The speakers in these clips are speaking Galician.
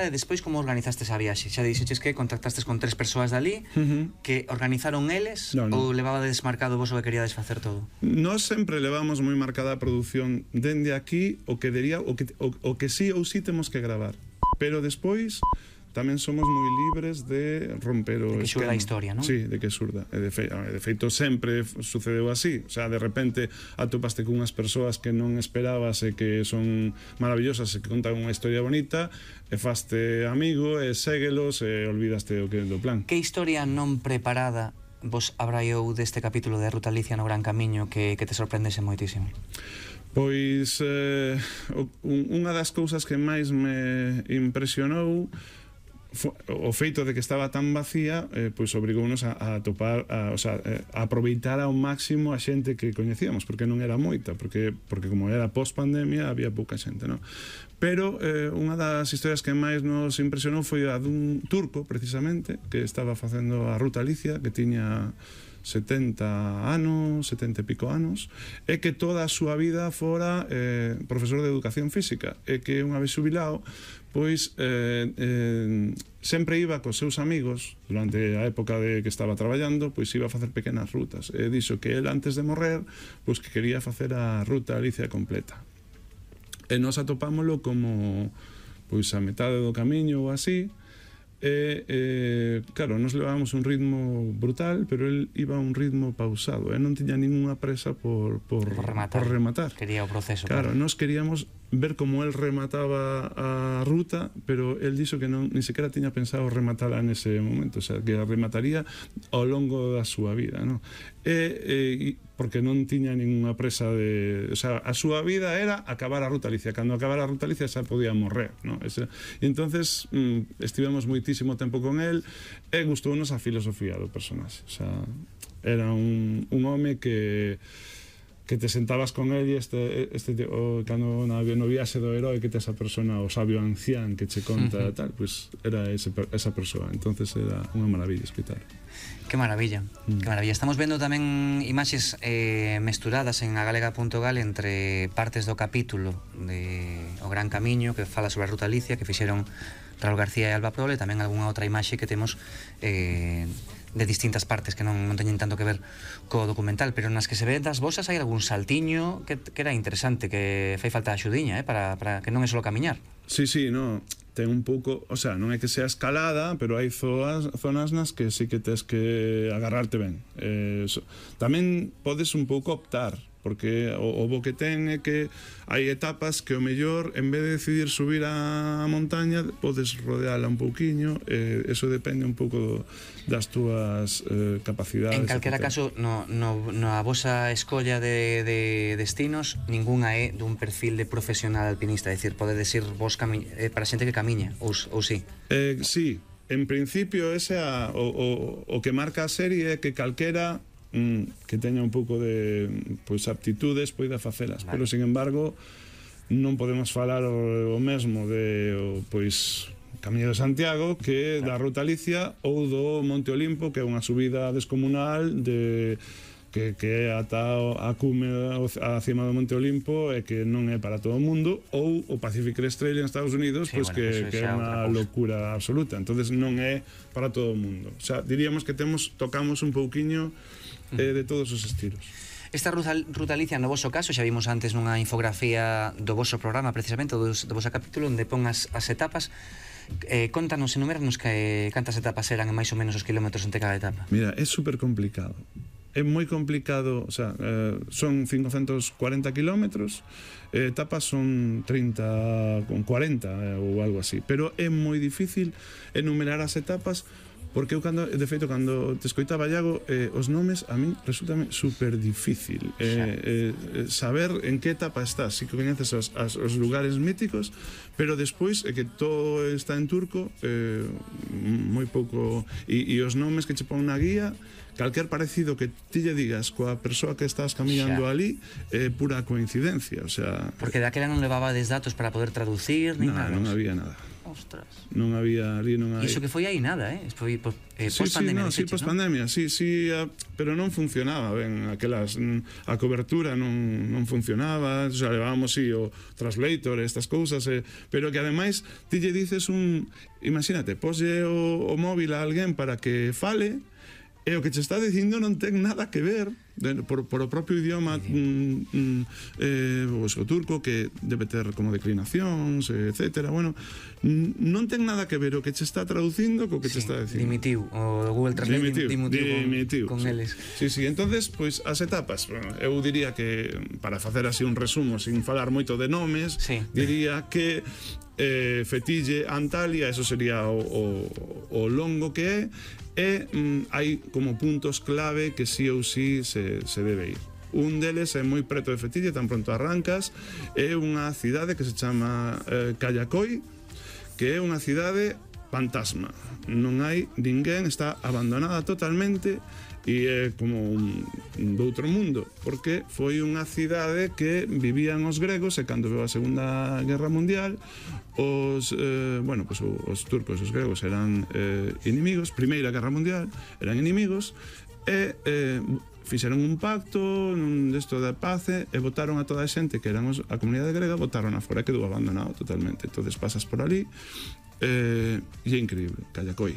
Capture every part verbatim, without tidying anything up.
e despois como organizaste esa viaxe? Xa dixeches que contactastes con tres persoas dali, Uh -huh. que organizaron eles, no, no. ou levabades marcado vos o que queríades facer todo? Nós sempre levamos moi marcada a produción dende aquí, o que dería, o que, o, o que sí ou sí temos que gravar, pero despois tamén somos moi libres de romper o esquema. De que xurda a historia, non? Sí, de que xurda. E de, fe, de feito, sempre sucedeu así. O sea, de repente atopaste con unhas persoas que non esperabas e que son maravillosas e que contan unha historia bonita, e faste amigo, e séguelos, e olvidaste o que do plan. Que historia non preparada vos abraiou deste capítulo de Ruta Alicia no Gran Camiño que, que te sorprendese moitísimo? Pois, eh, unha das cousas que máis me impresionou o feito de que estaba tan vacía, eh, pois obrigounos a, a topar, a, o sea, a aproveitar ao máximo a xente que coñecíamos, porque non era moita, porque porque como era post-pandemia había pouca xente, non? Pero eh, unha das historias que máis nos impresionou foi a dun turco, precisamente, que estaba facendo a Ruta Alicia, que tiña setenta anos, setenta e pico anos, e que toda a súa vida fora eh, profesor de educación física, e que unha vez xubilado, pois eh, eh, sempre iba cos seus amigos durante a época de que estaba traballando, pois iba a facer pequenas rutas, e dixo que el antes de morrer, pois que quería facer a Ruta Alicia completa, e nos atopámoslo como pois a metade do camiño ou así. E, eh, claro, nos levábamos un ritmo brutal, pero el iba a un ritmo pausado, e non tiña ninguna presa por, por, por, rematar. por rematar. Quería o proceso. Claro, claro, nos queríamos ver como el remataba a ruta, pero el dixo que non, ni sequera tiña pensado rematala nese momento, o sea, que a remataría ao longo da súa vida, non? E, e porque non tiña ninguna presa de, o sea, a súa vida era acabar a Ruta Alicia. Cando acabara a Ruta Alicia xa podía morrer, non? Ese, e entonces mm, estivemos moitísimo tempo con el, e gustounos a filosofía do personaxe, o sea, era un, un home que que te sentabas con él e este, este o, cando no, no viaxe do herói que te esa persona, o sabio ancián que che conta, uh -huh. tal, pues era ese, esa persoa. Entonces era unha maravilla escutar. Que maravilla, mm. que maravilla. Estamos vendo tamén imaxes eh, mesturadas en agalega punto gal entre partes do capítulo de O Gran Camiño, que fala sobre a Ruta Alicia, que fixeron Raúl García e Alba Prole, e tamén algunha outra imaxe que temos eh, de distintas partes que non, non teñen tanto que ver co documental, pero nas que se ven das vosas hai algún saltiño que, que era interesante, que fai falta a axudiña, eh, para, para que non é só camiñar. Sí, sí, no, ten un pouco, o sea, non é que sea escalada, pero hai zonas, zonas nas que sí que tes que agarrarte ben. Eh, so, tamén podes un pouco optar, porque o, o bo que ten é que hai etapas que o mellor, en vez de decidir subir a montaña, podes rodeala un pouquiño, eh, eso depende un pouco das túas eh, capacidades. En calquera caso, no, no, no a vosa escolla de, de destinos, ninguna é dun perfil de profesional alpinista, é dicir, podedes ir vos cami eh, para xente que camiña, ou, ou sí? Eh, sí, en principio ese a, o, o, o que marca a serie é que calquera que teña un pouco de pois aptitudes poida facelas, vale. Pero sin embargo non podemos falar o, o mesmo de o, pois Camiño de Santiago que claro. Da Ruta Alicia ou do Monte Olimpo, que é unha subida descomunal de que, que é ata a cume a cima do Monte Olimpo e que non é para todo o mundo, ou o Pacific Crest Trail en Estados Unidos, sí, pois bueno, que, que é unha locura absoluta, entonces non é para todo o mundo, o sea, diríamos que temos tocamos un pouquiño eh, de todos os estilos. Esta ruta, ruta Alicia, no voso caso, xa vimos antes nunha infografía do voso programa, precisamente, do, do voso capítulo, onde pon as, as etapas. Eh, contanos, enuméranos que cantas etapas eran e máis ou menos os kilómetros entre cada etapa. Mira, é super complicado. É moi complicado, o sea, eh, son cincocentos cuarenta kilómetros, eh, etapas son trinta con cuarenta eh, ou algo así, pero é moi difícil enumerar as etapas. Porque eu, cando, de feito, cando te escoitaba, Iago, eh, os nomes a min resultame super difícil eh, eh, saber en que etapa estás. Si que coñeces os, as, os lugares míticos, pero despois é que todo está en turco, eh, moi pouco, e, e os nomes que che pon na guía, calquer parecido que ti lle digas coa persoa que estás camiñando ali é eh, pura coincidencia, o sea... Porque daquela non levabades datos para poder traducir, ni nada. Non había nada. Ostras. Non había ali, non hai... Iso que foi aí nada, eh? Foi eh, Sí, sí, post-pandemia, no, sí, dixeches, post-pandemia, sí, sí, a, pero non funcionaba ben aquelas, mm, a cobertura non, non funcionaba, xa levábamos sí, o translator, estas cousas, eh, pero que ademais ti lle dices un, imagínate, poslle o, o móvil a alguén para que fale, e o que che está dicindo non ten nada que ver de, por, por o propio idioma mm, mm, eh, o, o turco, que debe ter como declinacións, etcétera. Bueno, non ten nada que ver o que che está traducindo co que sí, che está dicindo. Dimitiu, o Google Translate dimitiu, dimitiu, dimitiu con, con sí. eles. Sí, sí, entonces, pois, pues, as etapas, bueno, eu diría que, para facer así un resumo, sin falar moito de nomes, sí. diría que eh, Fetille, Antalya, eso sería o, o, o longo que é, e mm, hai como puntos clave que sí ou sí se, se debe ir. Un deles é moi preto de Fetille, tan pronto arrancas, é unha cidade que se chama eh, Kayakoi, que é unha cidade fantasma. Non hai ninguén, está abandonada totalmente, e é como un, un doutro mundo, porque foi unha cidade que vivían os gregos, e cando veu a Segunda Guerra Mundial, os, eh, bueno, pues, os turcos e os gregos eran eh, inimigos, Primeira Guerra Mundial, eran inimigos, e eh, fixeron un pacto un desto da paz e botaron a toda a xente que eran os, a comunidade grega, botaron a fora, quedou abandonado totalmente. Entonces pasas por ali eh, e é increíble, Kayakoi.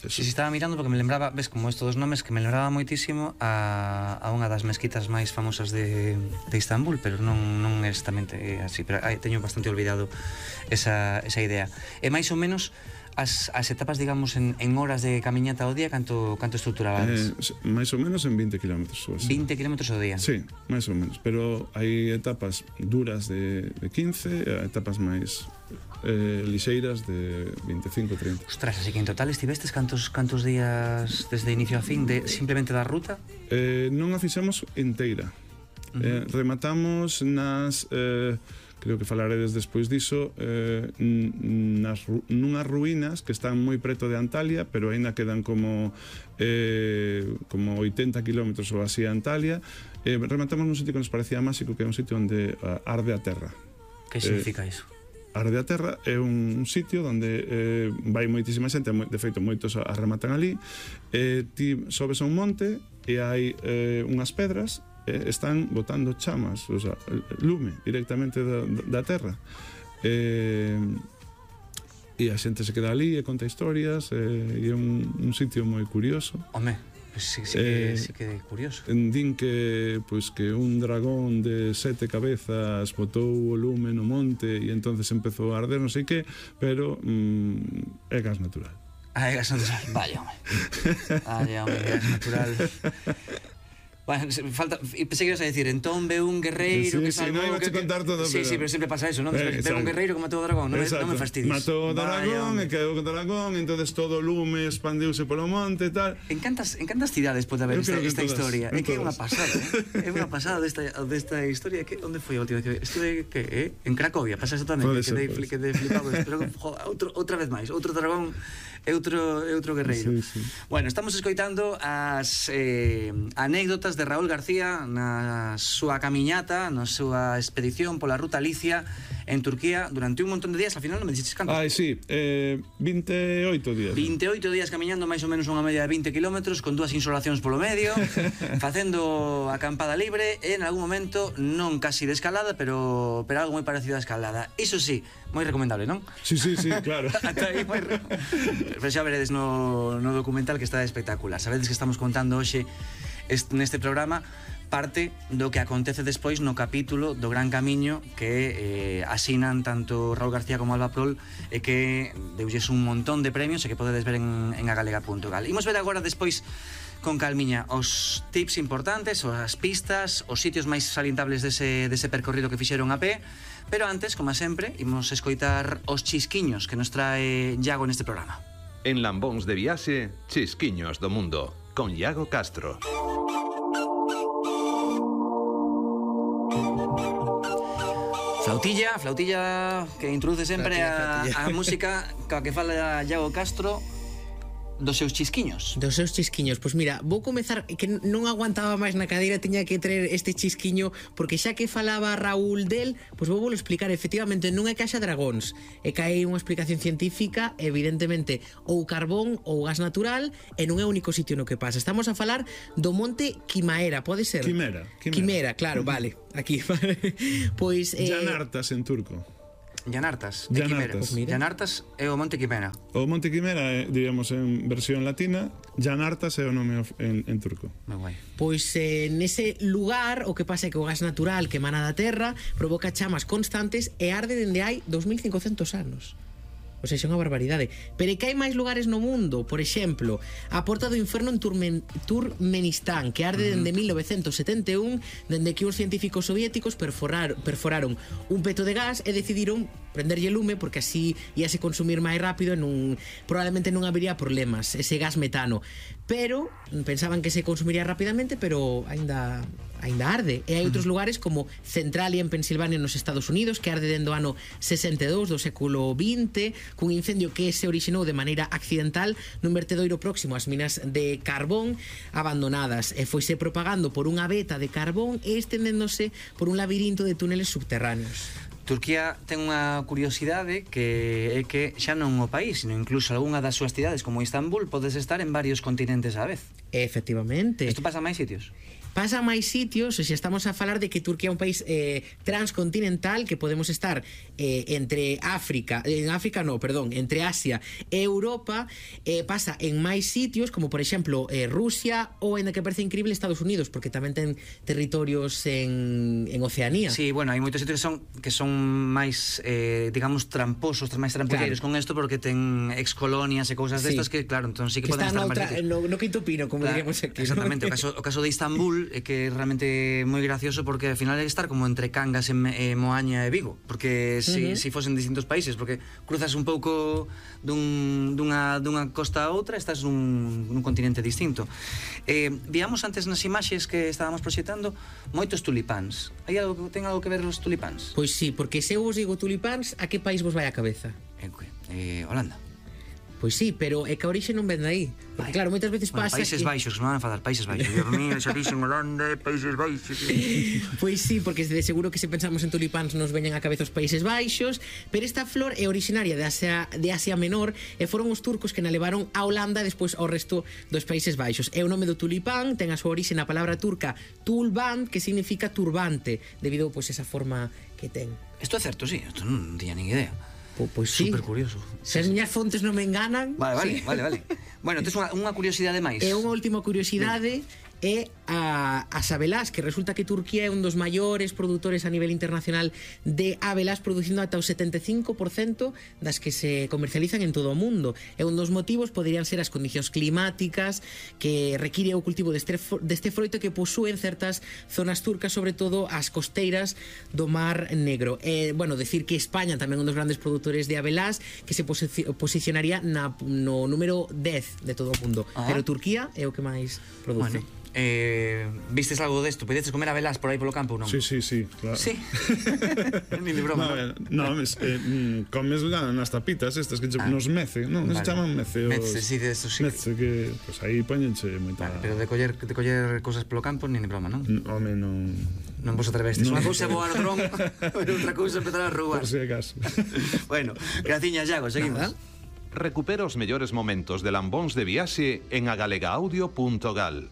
Si, si estaba mirando porque me lembraba, ves, como estos dos nomes, que me lembraba moitísimo a, a unha das mezquitas máis famosas de, de Istambul, pero non, non é exactamente así, pero ai, teño bastante olvidado esa, esa idea. E máis ou menos as, as etapas, digamos, en, en horas de camiñata ao día, canto, canto estruturabades? Eh, máis ou menos en vinte kilómetros. vinte kilómetros ao día? Sí, máis ou menos, pero hai etapas duras de, de quince, etapas máis eh, lixeiras de veinticinco, treinta. Ostras, así que en total estivestes cantos, cantos días desde inicio a fin de simplemente da ruta? Eh, non a fixamos inteira. Uh-huh. eh, rematamos nas... Eh, creo que falaredes despois diso, eh, nas, nunhas ruínas que están moi preto de Antalya, pero aínda quedan como eh, como oitenta kilómetros ou así a Antalya. Eh, rematamos nun sitio que nos parecía máxico, que é un sitio onde uh, arde a terra. Que significa eh, iso? Arde a Terra é un sitio onde eh, vai moitísima xente, de feito moitos a rematan ali, eh, ti sobes a un monte e hai eh, unhas pedras, eh, están botando chamas, o sea, lume directamente da, da terra, eh, e a xente se queda ali e conta historias, eh, e é un, un sitio moi curioso. Home, pues sí, sí, que, eh, sí que é curioso. Din que, pues, que un dragón de sete cabezas botou o lume no monte e entonces empezou a arder, non sei que, pero mm, é gas natural. Ah, é gas natural, vaya, home. Vaya, home, gas natural. Bueno, falta, pensei que ibas a decir, entón ve un guerreiro sí, que salvou... Sí, no, non iba a contar todo, sí, pero... sí, pero sempre pasa eso, non? Eh, ve un guerreiro que matou o dragón, non me, non me fastidies. Matou o dragón, e quedou con o dragón, entonces todo o lume expandiuse polo monte e tal. En cantas, en cantas cidades pode haber esta, esta todas, historia? É que é unha pasada, eh? É unha pasada desta, desta historia. Que, onde foi a última vez? Estuve, que, eh? En Cracovia, pasa eso tamén, que quedei que de flipado, pero joder, outro, outra vez máis, outro dragón e outro, e outro guerreiro. Sí, sí. Bueno, estamos escoitando as eh, anécdotas de Raúl García na súa camiñata, na súa expedición pola ruta Licia en Turquía durante un montón de días. Al final non me dixetes canto? Ai, sí, eh, vinte e oito días. vinte e oito días camiñando máis ou menos unha media de vinte kilómetros con dúas insolacións polo medio, facendo acampada libre e en algún momento non casi de escalada, pero pero algo moi parecido a escalada. Iso sí, moi recomendable, non? Sí, sí, sí, claro. Ata aí moi pero xa veredes no, no documental que está espectacular. Sabedes que estamos contando hoxe este, neste programa parte do que acontece despois no capítulo do Gran Camiño que eh, asinan tanto Raúl García como Alba Prol e que deulles un montón de premios e que podedes ver en, en agalega punto gal. Imos ver agora despois con calmiña os tips importantes, as pistas, os sitios máis salientables dese, dese percorrido que fixeron a pé, pero antes, como sempre, imos escoitar os chisquiños que nos trae Iago neste programa. En Lambóns de Viaxe, Chisquiños do Mundo, con Iago Castro. Flautilla, flautilla que introduce sempre a, a música ca que fala Iago Castro. dos seus chisquiños. Dos seus chisquiños. Pois mira, vou comezar, que non aguantaba máis na cadeira, tiña que traer este chisquiño, porque xa que falaba Raúl del, pois vou volo explicar. Efectivamente, non é caixa dragóns, é que hai unha explicación científica, evidentemente, ou carbón ou gas natural, e non é o único sitio no que pasa. Estamos a falar do monte Quimaera, pode ser? Quimera. Quimera, Quimera claro, vale. Aquí. Pois... Eh... Llanartas en turco. Llanartas, Llanartas. Pues Llanartas é o monte Quimera. O monte Quimera é, diríamos, en versión latina. Llanartas é o nome en, en turco. Moi guai. Pois eh, nese lugar o que pasa é que o gas natural que emana da terra provoca chamas constantes e arde dende hai dos mil cincocentos anos. O sea, é unha barbaridade. Pero é que hai máis lugares no mundo. Por exemplo, a Porta do Inferno en Turmen, Turmenistán, que arde dende mil novecentos setenta e un, dende que os científicos soviéticos perforar, perforaron un peto de gas e decidiron prenderlle lume porque así íase consumir máis rápido e non, probablemente non habería problemas, ese gas metano. Pero pensaban que se consumiría rapidamente, pero aínda aínda arde. E hai outros lugares como Centralia en Pensilvania nos Estados Unidos, que arde dende o ano sesenta e dous do século vinte, cun incendio que se orixinou de maneira accidental nun vertedoiro próximo ás minas de carbón abandonadas, e foise propagando por unha veta de carbón e estendéndose por un labirinto de túneles subterráneos. Turquía ten unha curiosidade que é que xa non o país, sino incluso algunha das súas cidades como Istambul podes estar en varios continentes á vez. Efectivamente. Isto pasa en máis sitios? Pasa a máis sitios, e xa estamos a falar de que Turquía é un país eh, transcontinental, que podemos estar eh, entre África, en África no, perdón, entre Asia e Europa. Eh, pasa en máis sitios, como por exemplo eh, Rusia, ou ainda que parece increíble Estados Unidos, porque tamén ten territorios en, en Oceanía. Sí, bueno, hai moitos sitios que son, que son máis, eh, digamos, tramposos, máis trampolleiros claro. con isto, porque ten excolonias e cousas sí. destas que, claro, entón sí que, que poden estar outra, máis no, no quinto pino, como claro, diríamos aquí. Exactamente, ¿no? o caso, o caso de Istambul é que é realmente moi gracioso, porque ao final é estar como entre Cangas e, e Moaña e Vigo, porque si, uh -huh. si fosen distintos países, porque cruzas un pouco dun, dunha, dunha costa a outra, estás nun, nun continente distinto. Eh, víamos antes nas imaxes que estábamos proxectando moitos tulipáns. Hai algo, ten algo que ver os tulipáns? Pois sí, porque se eu vos digo tulipáns, a que país vos vai a cabeza? Eh, eh, Holanda. Pois sí, pero é que a orixe non ven aí. Porque claro, moitas veces bueno, pasa Países que... Baixos, non van a enfadar, Países Baixos. Dios mío, xa dixen Holanda, Países Baixos. Pois sí, porque de seguro que se pensamos en tulipáns nos veñen a cabeza os Países Baixos, pero esta flor é originaria de Asia, de Asia Menor, e foron os turcos que na levaron a Holanda e despois ao resto dos Países Baixos. E o nome do tulipán ten a súa orixe na palabra turca tulbant, que significa turbante, debido pois esa forma que ten. Isto é certo, sí, isto non tiña nin idea. Po, pois sí. Super curioso. Se as miñas fontes non me enganan. Vale, vale, sí. vale, vale. Bueno, tes unha, unha curiosidade máis. E unha última curiosidade é a, as abelás, que resulta que Turquía é un dos maiores produtores a nivel internacional de abelás, producindo ata o setenta e cinco por cento das que se comercializan en todo o mundo. E un dos motivos poderían ser as condicións climáticas que require o cultivo deste, deste froito que posúen certas zonas turcas, sobre todo as costeiras do Mar Negro. E, bueno, decir que España tamén é un dos grandes produtores de abelás, que se posi posicionaría na, no número dez de todo o mundo. Ah. Pero Turquía é o que máis produce. Bueno. Eh, vistes algo desto? Podedes comer abelás por aí polo campo ou non? Sí, sí, sí, claro. Sí. Nin de broma. No, no, mes, eh, comes nas tapitas estas que ah. nos mece, non? Vale. Se chaman mece. Mece, sí, de eso sí. Mece que, pues aí poñenche moita... Vale, pero de coller, de coller cosas polo campo nin de broma, non? Home, non... Non vos atrevestes. Unha cousa é voar dron, pero outra cousa é empezar a roubar. Por si acaso. Bueno, graciñas, Iago, seguimos. Nada. Recupera os mellores momentos de Lambóns de Viaxe en agalega audio punto gal.